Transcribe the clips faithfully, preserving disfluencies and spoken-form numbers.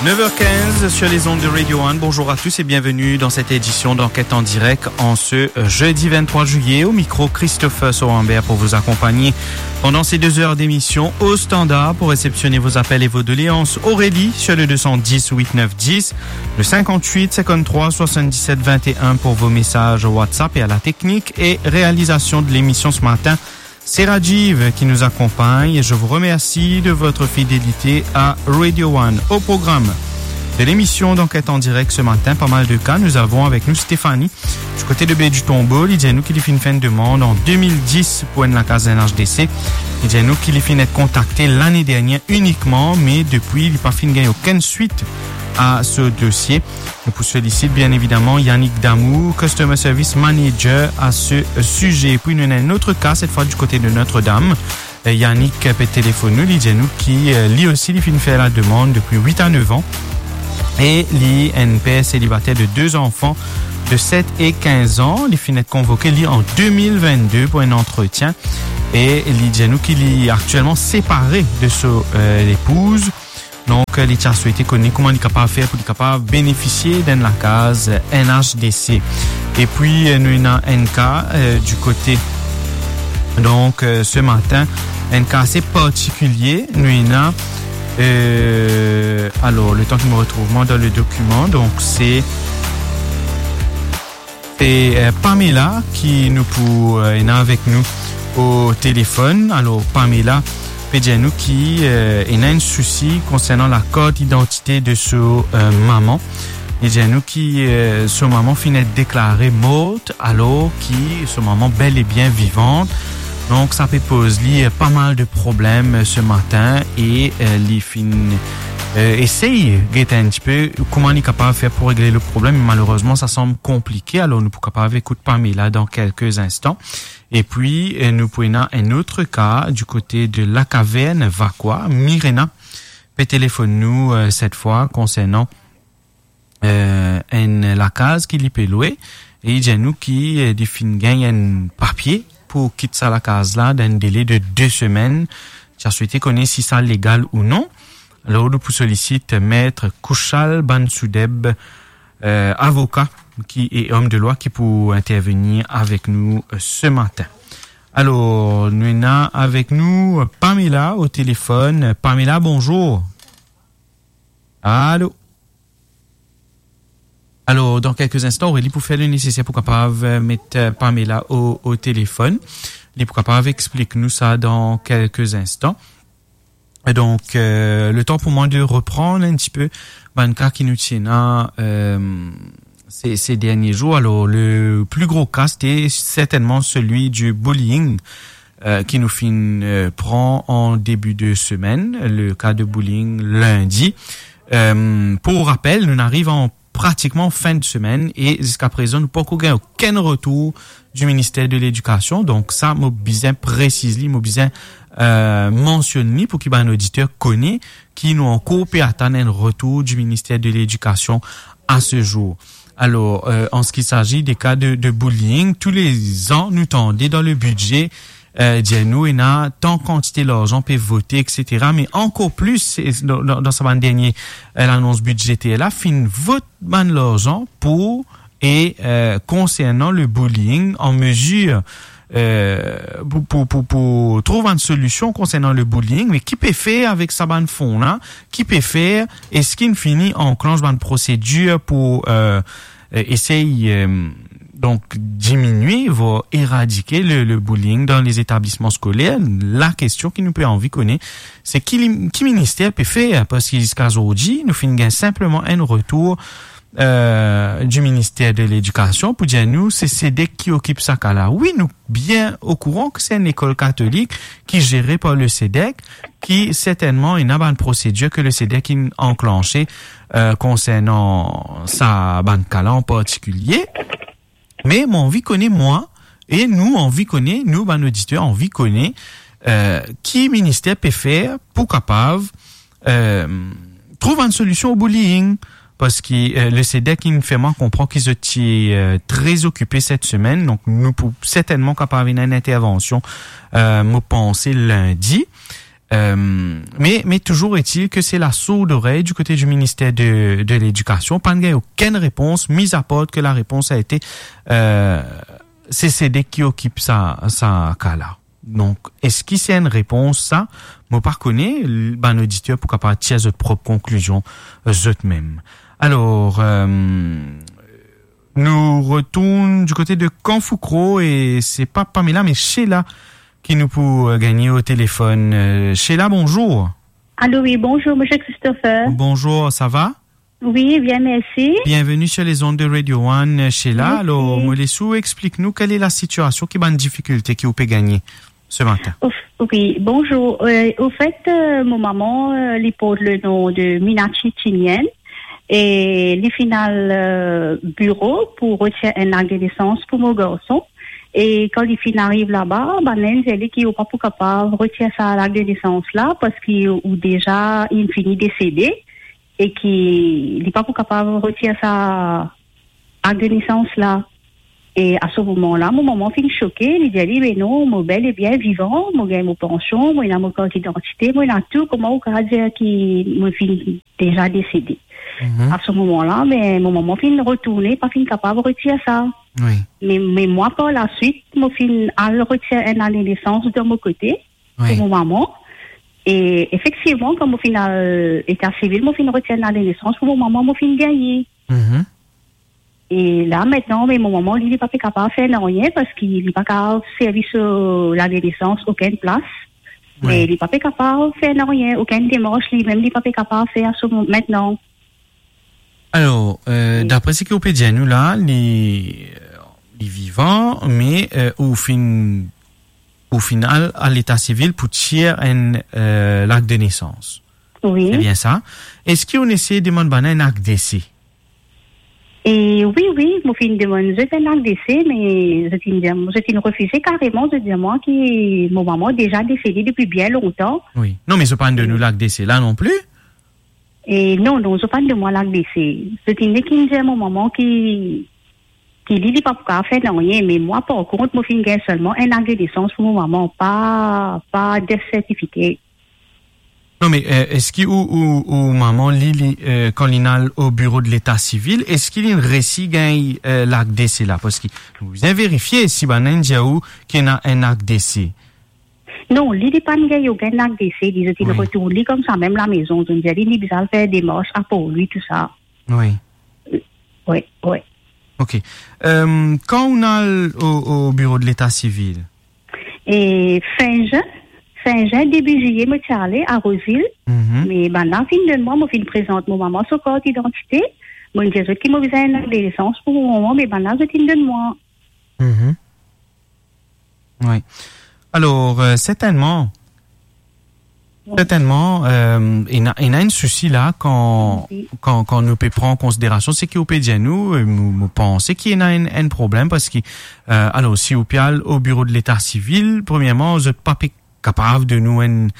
Neuf heures quinze sur les ondes de Radio One. Bonjour à tous et bienvenue dans cette édition d'Enquête en direct en ce, euh, jeudi vingt-trois juillet. Au micro, Christopher Sorambert pour vous accompagner pendant ces deux heures d'émission au standard pour réceptionner vos appels et vos doléances. Aurélie sur le deux cent dix huit neuf dix, le cinquante-huit cinquante-trois soixante-dix-sept vingt et un pour vos messages WhatsApp et à la technique et réalisation de l'émission ce matin, c'est Rajiv qui nous accompagne et je vous remercie de votre fidélité à Radio One. Au programme de l'émission d'Enquête en direct ce matin, pas mal de cas. Nous avons avec nous Stéphanie, du côté de Baie du Tombeau. Li dir nou ki li finn fer enn demann an deux mille dix pour enn lakaz N H D C. Li dir nou ki li finn et kontakte lane dernier inikman, me depi, li pa finn gagn okenn swit a so dosie. Nou pou solisit, bien évidemment, Yannick Damour, Customer Service Manager, à ce sujet. Puis nou ena enn lot ka, cette fois du côté de Notre-Dame. Euh, Yannick pe telefonn nou, li dir nou ki, euh, li osi, li finn fer la demann depi huit à neuf ans. E li enn per selibater de deux enfants de sept et quinze ans. Li finn et konvoke, li, an deux mille vingt-deux pour un entretien. E li dir nou ki li aktielman separe de so, euh, lepouze. Donk, euh, li ti a swete kone kouma li kapav fer pou li kapav benefisie d'enn lakaz, euh, N H D C. E puis, euh, nou ena enn ka, euh, du côté. Donk, euh, ce matin, enn ka ase partikilie. Nou ena, euh, alors, le temps que je me retrouve moi dans le document, donc c'est, c'est, euh, Pamela ki nou pou, euh, ena avek nou o telefonn. Alors, Pamela pe dir nou ki, euh, ena enn sousi konsernan lakart idantite de so, euh, mama. Li dir nou ki, euh, so mama finn et deklare mort, alors ki so mama bel e bien vivant. Donk, sa pe poz li, euh, pas mal de problèmes, euh, ce matin e, euh, li finn, euh, esey get enn tipe kouma li kapav fer pou regle le problèm. Malerezman, sa sanm konplike. Alors, nou pou kapav ekout Pamela dans quelques instants. E puis, euh, nou pou ena enn lot ka du côté de La Caverne, Vacoas. Mirena pe telefonn nou, euh, cette fois, konsernan, euh, enn lakaz ki li pe lwe. E li dir nou ki, euh, li finn gagn enn papie pou kit sa lakaz la dan enn dele de de semenn. Ti a swete kone si sa legal ou non. Alors, nou pou solisit Maître Kouchal Bansoudeb, euh, avoka ki, e om de lwa ki pou intervenir avek nou, euh, ce matin. Alors, nou ena avek nou Pamela o telefonn. Pamela, bonjour. Allô? Alors, dans quelques instants, Aurélie pou fer le neseser pou kapav, euh, met, euh, Pamela o, o telefonn. Li pou kapav explik nou sa dans quelques instants. Donk, euh, le tan pou mwa de reprann enn tipe bann ka ki nou ti ena, euh, ces, ces derniers jours. Alors, le plus gros cas, c'était certainement celui du bullying, euh, ki nou finn, euh, pran an début de semaine, le cas de bullying lundi. Euh, pour rappel, nou ariv an pratikman fin de semenn e ziska prezan, nou pankor gagn okenn retour du ministère de l'Éducation. Donk sa, mo bizin presiz li, mo bizin, euh, mansionn li pou ki bann oditer kone ki nou ankor pe atann enn retour du ministère de l'Éducation à ce jour. Alors, euh, en ce qui s'agit des cas de, de bullying, tous les ans, nou tande dans le budget, euh, dir nou, ena tan kantite larzan pe vote, et cetera. Me ankor plis, se, dan, dan, dan sa bann dernie, euh, lanons bidzeter la, finn vot bann larzan pou, e, euh, konsernan le bullying, an mezir, euh, pou, pou, pou, pou trouv enn solision konsernan le bullying, me ki pe fer avek sa bann fon la, ki pe fer, eski inn fini anklansh bann prosedir pou, euh, euh, esey, euh, donk, diminie, voire éradike le, le bullying dans les établissements scolaires. Lakestion ki nou pe anvi kone, se ki li, ki minister pe fer, parski ziska zordi, nou finn gagn sinpleman enn retour, euh, du ministère de l'Éducation pou dir nou, se CEDEC ki okip sa ka la. Wi, nou bien okouran ki se enn lekol katolik ki zere par le CEDEC, ki sertennman ena bann prosedir ki le CEDEC inn anklanshe, euh, konsernan sa bann ka la an partikilie. Me mo anvi kone, mwa, e nou anvi kone, nou bann oditer anvi kone, euh, ki minister pe fer pou kapav, euh, trouv enn solision o bullying, parski, euh, le CEDEC inn fer mwa konpran ki zot ti, euh, tre okipe set semenn, donk nou pou sertennman kapav ena enn intervansion, euh, mo panse lindi. Euh, mais, mais toujours est-il que c'est la sourde oreille du côté du ministère de, de l'Éducation. Pas de aucune réponse, mis à part que la réponse a été, euh, se sede ki okip sa, sa ka la. Donk, eski se enn repons sa? Mo pa kone, l-, bann oditer pou kapav tir zot prop konklizion, euh, zot mem. Alor, euh, nou retourn du kote de Kanfoukro e se pa Pamela, me Sheila ki nou pou, euh, gagne o telefonn. Euh, Sheila, bonjour. Allô, oui, bonjour, monsieur Christopher. Bonjour, ça va? Oui, bien, merci. Bienvenue sur les ondes de Radio One, Sheila. Merci. Alors, mo les ou explik nou quelle est la situation, ki bann difikilte ki ou pe gagne ce matin. Au f-, oui, bonjour. Euh, au fait, euh, mon maman, euh, li port le nom de Minachi Tinien e li finn al, euh, biro pou retir enn lak de nesans pou mo garson. E kan li finn ariv laba, bann la dir li ki ou pa pou kapav retir sa lak de nesans la, parski ou deza inn fini desede e ki li pa pou kapav retir sa lak de nesans la. E a se moman la, mo mama finn soke, li dir li, "Me non, mo bel e bien vivan, mo gagn mo pansion, mo ena mo kart idantite, mo ena tou, kouma ou kapav dir ki mo finn deza desede?" Mhm. A se moman la, me mo mama finn retourne, pa finn kapav retir sa. Oui. Me, me mwa par laswit, mo finn al retir enn lak de nesans de mo kote, oui, pou mo mama. E efektivman, kan mo finn al leta sivil, mo finn retir enn lak de nesans pou mo mama, mo finn gagne. Mhm. E la, aster, me mo mama, li, li pa pe kapav fer nanye, parski li pa kapav servi so lak de nesans okenn plas. Oui. Me li pa pe kapav fer nanye, okenn demars, li mem, li pa pe kapav fer a se moman aster. Alor, euh, oui, dapre seki ou pe dir nou la, li, li vivan, me, euh, ou finn, ou finn al leta sivil pou tir enn, euh, lak de nesans. Oui. Se bien sa. Eski ou inn esey demann bann la enn lak dese? E oui, oui, mo finn demann zot enn lak dese, me zot inn dir, zot inn refize kareman, zot dir mwa ki mo mama deza desede depi bien lontan. Oui. Non, me zot pa'nn donn ou lak dese la non pli? E non, non, zot pa'nn donn mwa lak dese. Zot inn nek inn dir mo mama ki, ki li, li pa pou kapav fer nanye, me mwa, par kont, mo finn gagn selman enn lak de nesans pou mo mama, pa, pa death certificate. Non, me, euh, eski ou, ou, ou mama, li, li, euh, kan li'nn al o biro de leta sivil, eski li'nn resi gagn, euh, lak dese la? Parski nou bizin verifie si bann la inn dir ou ki ena enn lak dese. Non, li, li pa'nn gagn okenn lak dese, li, zot inn, oui, retourn li koumsa mem lamezon, zot inn dir li, li bizin al fer demars aport li, tou sa. Oui. Oui, oui. Ok. Euh, kan ou al o, o biro de leta sivil? E fin zin, fin zin, debi ziye, mo ti ale a Rose Hill. Mhm. Me bann la finn donn mwa, mo finn prezant mo mama so kart idantite. Mo dir zot ki mo bizin enn lak de nesans pou mo mama, me bann la zot inn donn mwa. Mhm. Oui. Alor, euh, sertennman, sertennman, euh, ena, ena enn sousi la kan, oui, kan, kan nou pe pran an konsiderasion seki ou pe dir nou, euh, mo, mo panse ki ena enn, enn problem parski, euh, alor, si ou pe al o biro de leta sivil, premierman, zot pa pe kapav donn ou enn,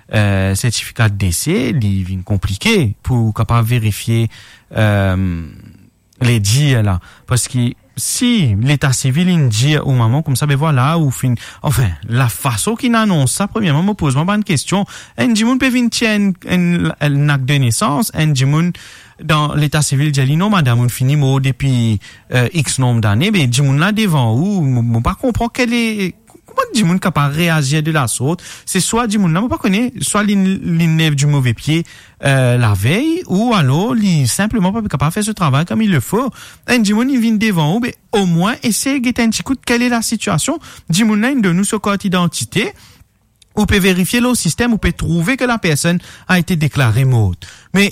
euh, sertifika de dese, li vinn konplike pou kapav verifie, euh, ledir la. Parski si leta sivil inn dir ou mama koumsa, be vwala, ou finn, anfin, lafason ki inn anons sa, premierman, mo poz mwa bann kestion. Enn dimoun pe vinn tir enn, enn, enn lak de nesans, enn dimoun dan leta sivil dir li, "Non, madam, ou fini mor depi, euh, X nonb dane," be dimoun la devan ou, mo, mo pa konpran kele, kouma dimoun kapav reazir de la sort? Se swa dimoun la, mo pa kone, swa li, li lev di move pie, euh, lavey, ou alor li sinpleman pa kapav fer so travay comme il le faut. Enn dimoun, li vinn devan ou, be omwin esey get enn ti kout kele lasitiasion. Dimoun la inn donn ou so kart idantite, ou pe verifie lor sistem, ou pe trouve ke la personne a été déclarée morte. Me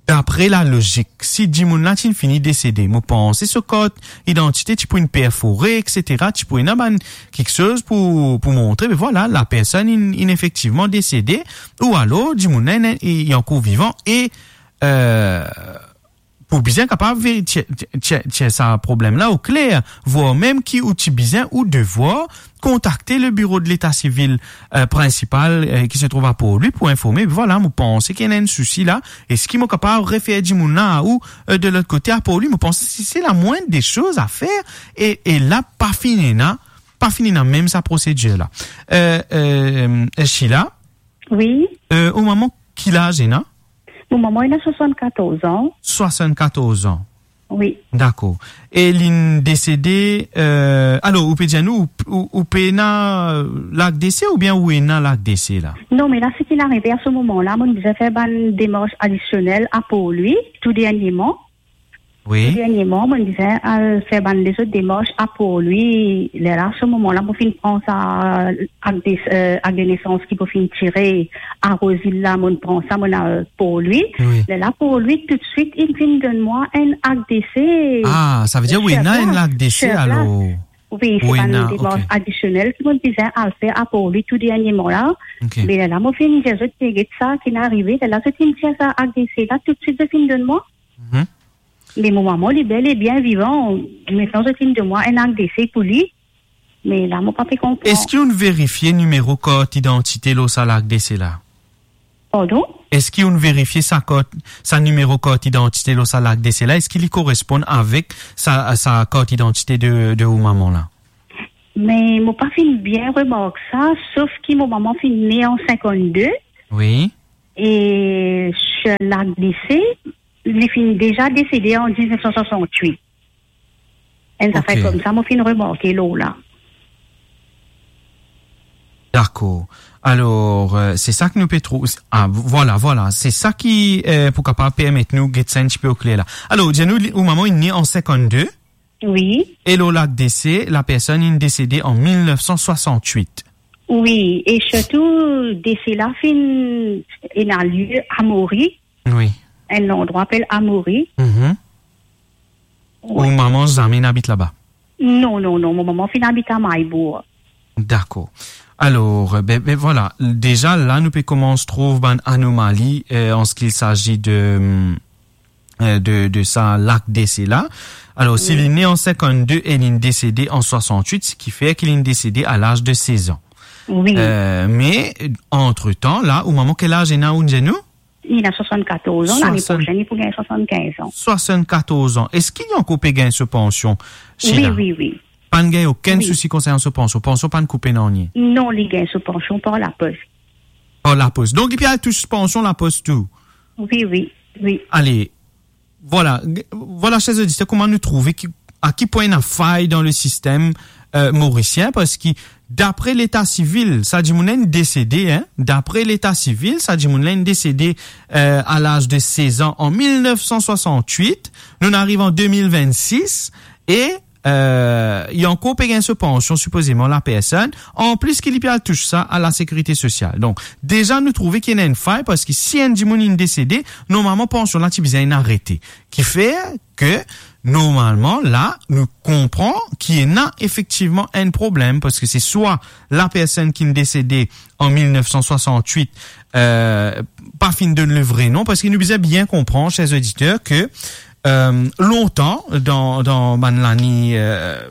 dapre lalozik, si dimoun la ti fini desede, mo panse so kart idantite ti pou inn perfore, et cetera, ti pou ena bann kiksoz pou, pou montre, be vwala, la personne inn, inn efektivman desede, ou alor dimoun la inn, li ankor vivan e, euh, pou bizin kapav veri-, tir, tir, tir, tir sa problem la o kler, vwar mem ki ou ti bizin ou devwar kontakte le biro de leta sivil, euh, prinsipal, euh, ki se trouv a Port-Louis pou informe. Vwala, mo panse ki ena enn sousi la. Eski mo kapav refer dimoun la a ou, euh, de lot kote a Port-Louis? Mo panse se, se la moindre des choses à faire. E, e la, pa finn ena, pa finn ena mem sa prosedir la. Euh, euh, Sheila? Wi. Euh, ou mama, ki laz ena? Mo mama ena swasann-katorz an. Swasann-katorz an. Wi. Dakor. E linn desede, euh, alor, ou pe dir nou, ou, ou, ou pena lak dese oubien ou ena lak dese la? Non, me la, seki arive a se moman la, mo'nn bizin fer bann demars adisionel a Port-Louis, tou dernieman. Wi. Tou dernieman, mo'nn bizin al fer bann lezot demars a Port-Louis. Lerla, se moman la, mo finn pran sa akt de, euh, akt de nesans ki mo finn tire a Roseville la, mo'nn pran sa, mo'nn al Port-Louis. Wi. Lerla Port-Louis toutswit inn vinn donn mwa enn akt dese. Ah, savedir ou ena enn lak dese alor? Wi, se bann demars adisionel ki mo'nn bizin al fer a Port-Louis tou dernieman la. Ok. Me lerla mo finn dir zot, get sa ki inn arive, lerla zot inn tir sa akt dese la, toutswit zot finn donn mwa. Mhm. Me mo mama, li bel e bien vivan. Aster zot inn donn mwa enn akt dese pou li. Me la, mo pa pe konpran. Eski ou'nn verifie nimero kart idantite lor sa lak dese la? Pardon? Eski ou'nn verifie sa kart, sa nimero kart idantite lor sa lak dese la? Eski li koresponn avek sa, sa kart idantite de, de ou mama la? Me mo pa finn bien remark sa, sof ki mo mama finn ne an sinkannde. Wi. E se lak dese, li finn deza desede an diznef san swasann-wit. Enn zafer koumsa, mo finn remarke lor la. Dakor. Alor, euh, se sa ki nou pe trouv. Ah, vwala, vwala. Se sa ki, euh, pou kapav permet nou get sa enn tipe okler la. Alor, dir nou, li, ou mama inn ne an sinkannde. Wi. E lor lak dese, la personn inn desede an mil nef san swasann-wit. Wi, e sirtou, dese la finn ena lie a Mori. Wi. Enn landrwa apel Amori. Mhm. Wi. Ou mama zame inn abit laba? Non, non, non, mo mama finn abit a Maybour. Dakor. Alor, be, be, vwala, deza la, nou pe koumans trouv bann anomali, euh, an se ki il sazi de, euh, de, de sa lak dese la. Alor, si li ne an sinkannde e linn desede an swasann-wit, seki fer ki linn desede a laz de sez an. Wi. Euh, me, antretan, la, ou mama, ki laz ena, ou dir nou? Li ena swasann-katorz an, lane prosenn, li pou gagn swasann-kinz an. Swasann-katorz an. Eski li ankor pe gagn so pansion, Sheila? Wi, wi, wi. Pa'nn gagn okenn sousi konsernan so pansion? Pansion pa'nn koupe nanye? Non, li gagn so pansion par lapos. Par lapos. Donk, li pe al tous pansion lapos tou? Wi, wi, wi. Ale, vwala, g-, vwala, ser oditer, kouma nou trouve ki, a ki pwin ena fay dan le sistem, euh, morisien, parski dapre leta sivil, sa dimoun la inn desede, hein, dapre leta sivil, sa dimoun la inn desede, euh, a laz de sez an an mil nef san swasann-wit, nou ariv an de mil vennsis, e euh, li ankor pe gagn so pansion, sipozeman, la personn, anplis ki li pe al tous sa a la sekirite sosial. Donk, deza nou trouve ki ena enn fay, parski si enn dimoun inn desede, normalman, pansion la ti bizin inn arete. Ki fer ke, normalman, la, nou konpran ki ena efektivman enn problem, parski se swa la personn ki'nn desede an mil nef san swasann-wit, euh, pa finn donn le vre non, parski nou bizin bien konpran, ser oditer, ke euh, lontan, dan, dan bann lane, euh,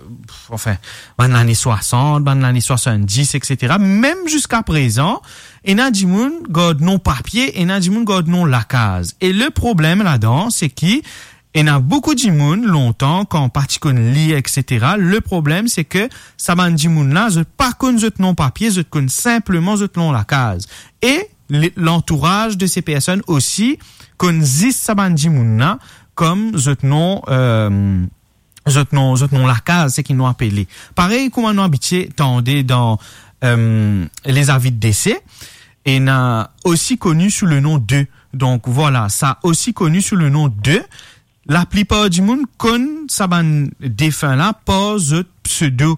anfin, bann lane swasant, bann lane swasanndis, et cetera, mem ziska prezan, ena dimoun gard non papie, ena dimoun gard non lakaz. E le problem ladan, se ki ena boukou dimoun, lontan, kan pa ti konn lir, et cetera, le problem, se ke sa bann dimoun la, zot pa konn zot non papie, zot konn sinpleman zot non lakaz. E le-, lantouraz de se personn osi konn zis sa bann dimoun la kom zot non, euh, zot non, zot non lakaz, seki nou apele. Parey kouma nou abitie tande dan, euh, les avis de décès, ena osi koni sou le non de. Donk, vwala, sa osi koni sou le non de. Laplipar dimoun konn sa bann defin la par zot pseudo,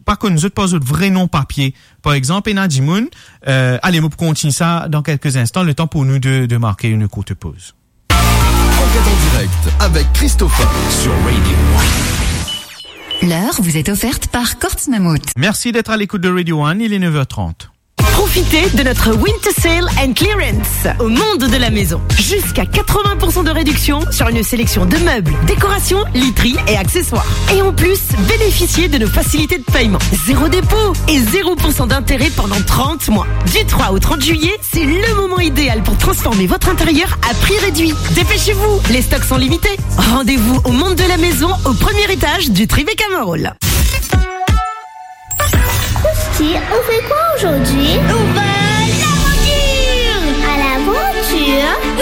pa konn zot par zot vre non papie. Par exanp, ena dimoun, euh, ale, mo pou kontign sa dan kelke instan, letan pou nou de, de marke une courte pause. Enquête en direct avec Christopher sur Radio One. L'heure vous est offerte par Courts Mammouth. Merci d'être à l'écoute de Radio One, il est neuf heures trente. Profitez de notre Winter Sale and Clearance au Monde de la Maison. Jusqu'à quatre-vingts pour cent de réduction sur une sélection de meubles, décorations, literie et accessoires. Et en plus, bénéficiez de nos facilités de paiement. Zéro dépôt et zéro pour cent d'intérêt pendant trente mois. Du trois au trente juillet, c'est le moment idéal pour transformer votre intérieur à prix réduit. Dépêchez-vous, les stocks sont limités. Rendez-vous au Monde de la Maison, au premier étage du Tribeca Mall. Christy, on fait quoi aujourd'hui ? On va laver Ya?